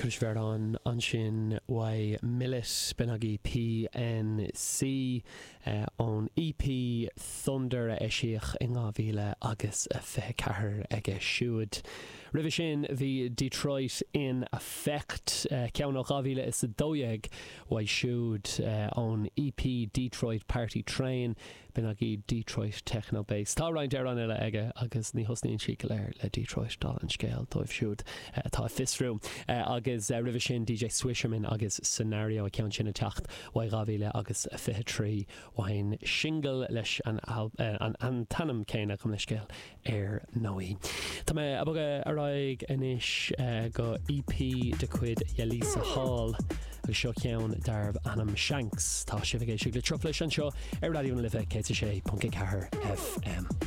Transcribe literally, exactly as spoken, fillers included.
Cruisbhearán ansin uaidh Millet b'in PNC ón EP Thunder a eisíodh in dhá mhíle agus a fiche ceathair aige siúd. Roimhe sin bhí Detroit in Effect ceann ó dhá mhíle is a dó dhéag uaidh siúd ón EP Detroit Party Train b'in agaibh Detroit Techno Bass. Tá roinnt amhrán eile aige agus ní thosnaíonn siad go léir le Detroit dála an scéil dóibh siúd atá ag fiosrú. Agus roimhe sin DJ Swisherman agus Scenario a ceann sin ag teacht uaidh dhá mhíle agus a fiche trí ón single leis an an an t-ainm céanna gabh mo leithscéal ar ndóigh. Tá mé ag bogadh ar aghaidh anois go EP de chuid Yelisa Hall agus seo ceann darbh ainm Shanks Tá sibh ag éisteacht le Truflais anseo ar Raidió na Life céad sé ponc ceathair FM.